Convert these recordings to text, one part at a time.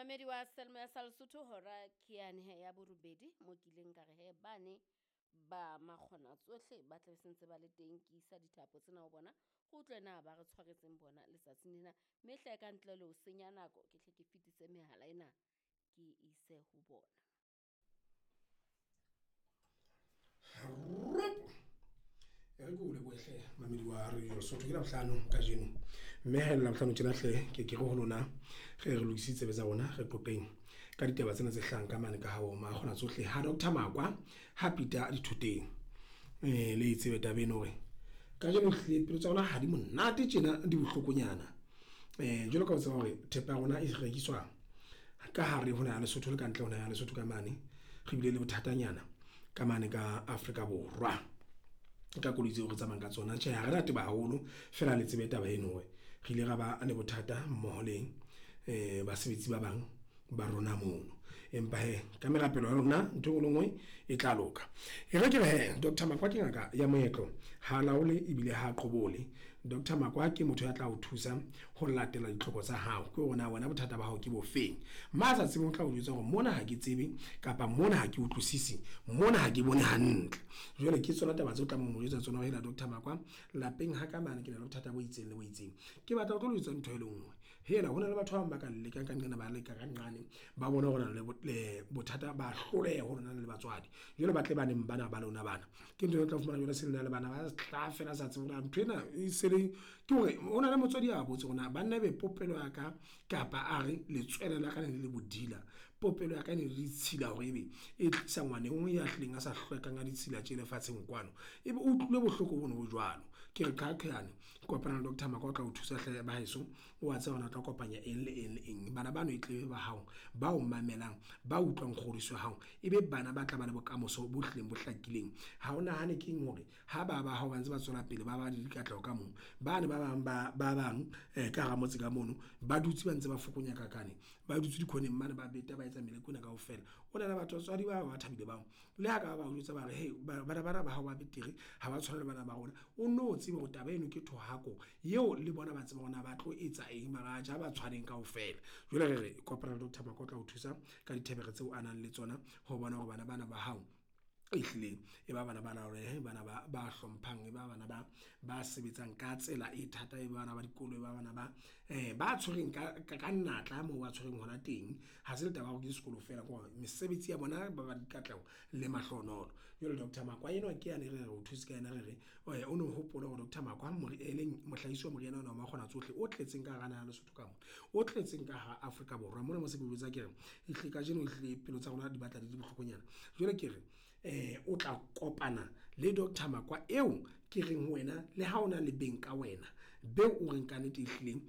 Momamedi wa Selma sa Lesotho hora ke yane he ya borobedi mo kileng ka re he bane ba makgona tsohle ba tla be sentse ba le teng ke isa dithapo tsena ho bona re utlwe na ba re tshwaretseng bona letsatsing lena mme hle ka ntle le ho senya nako ke hle ke fetise mehala ena ke ise ho bona. E re ke o lebohe hle mamedi wa Radio Lesotho ke Labohlano kajeno mme ha e le Labohlano tjena hle ke ke re ho lona re re lokisitse tsebe tsa rona re qoqeng ka ditaba tsena tse hlahang ka mane ka ha Makgona tsohle ha Dr Makwa ha pita dithoteng. Le e tsebe taba eno hore kajeno ehlile pelo tsa rona ha di monate tjena di bohlokonyana. Jwalo ka o tseba hore thepa ya rona e rekiswa ka hare ho naha ya Lesotho le kantle ho naha ya Lesotho ka mane. Re bile le bothatanyana ka mane ka Afrika Borwa ka koloi tseo re tsamayang ka tsona. Tjhe, ha re rate haholo feela le tsebe taba eno hore re ile ra ba le bothata mmoho le basebetsi ba bang ba rona mono. Empa hee ka merapelo ya lona ntho e nngwe le nngwe e tla loka. E re ke re hee Dr Makwa ke ngaka ya moetlo, ha laole ebile ha qobole. Dr Makwa ke motho ya tla o thusa ho latela ditlhoko tsa hao. Ke hore na wena bothata ba hao ke bofeng. Ma sa tsebeng o tla o jwetsa hore mona ha ke tsebe kapa mona ha ke utlwisisi, mona ha ke bone hantle. Jwale ke tsona taba tseo tlamehang ho mo jwetsa tsona hore hela Dr Makwa lapeng ha ka mane ke na le bothata bo itseng le bo itseng. Ke batla ho tlo le jwetsa ntho e le nngwe. Hela hona le batho ba bang ba ka lekang ka nqena ba leka ka nqane ba bona hore na le bothata ba hloleha ho lona le batswadi. Jwale ba tle baneng bana ba lona bana. Ke ntho e tla fumana jwale se lena le bana ba tla fela sa tsebe hore ntho ena e se le ke hore hona le motswadi a botse hore na banna ebe popelo ya ka kapa a re letswele la ka le le bodila. Popelo ya ka ne le ditshila hore ebe e tlisa ngwana e nngwe ya hlileng a sa hlwekang a ditshila tje lefatsheng kwano. Ebe o utlwile bohloko bono bo jwalo. Ke re qhaqhane kopana le Dr Makwa o tla o thusa hle ba heso. O a tseba hore o tla kopanya eng le eng le eng. Bana bano e tle ba hao ba o mamelang ba utlwang kgodiso ya hao ebe bana ba tla ba le bokamoso bo hlileng bo hlakileng. Ha o nahane keng hore ha ba ba hao ba ntse ba tswela pele ba ba le dikatleho ka moo bane ba bang ba bang ka hara motse ka mono ba dutse ba ntse ba fokonya kakane ba dutse dikhoneng mane ba beta ba etsa meleko ena kaofela. O na le batho batswadi ba ba thabile bao le ha ka ba jwetsa ba re hey bana bana ba hao ba betere ha ba tshwane le bana ba rona. O no tsebe hore taba eno ke thohako eo le bona ba tseba hore na ba tlo etsa eng mara ja ba tshwaneng kaofela. Jwale re re kopana le Dr Makwa o tla o thusa ka dithebere tseo a nang le tsona ho bona hore bana bana ba hao ehlile e ba bana ba laolehe, bana ba hlomphang, e ba bana ba sebetsang ka tsela e thata, e ba bana ba dikolo, e ba bana ba ba tshwereng ka natla moo ba tshwereng hona teng. Ha se le taba ya hore ke sekolo feela ke hore mesebetsi ya bona ba ba dikatleho le mahlohonolo. Jwale Dr Makwa enwa ke yane re re o thuse ka yena re re o no hopole hore Dr Makwa e leng mohlahisi wa moriana ona wa Makgona tsohle o tletseng ka hara naha ya Lesotho ka mona, o tletseng ka hara Afrika Borwa mona mo se ke jwetsa ke re ehlile kajeno ehlile pelo tsa rona di batla di le bohlokonyana. Jwale ke re o tla kopana le Dr Makwa eo ke reng ho wena le ha ona le beng ka wena beo o reng ka nnete ehlileng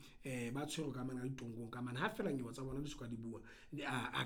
ba tshwerwe ka mane ka ditongkong ka mane ha feela nyewe tsa bona di soka di bua a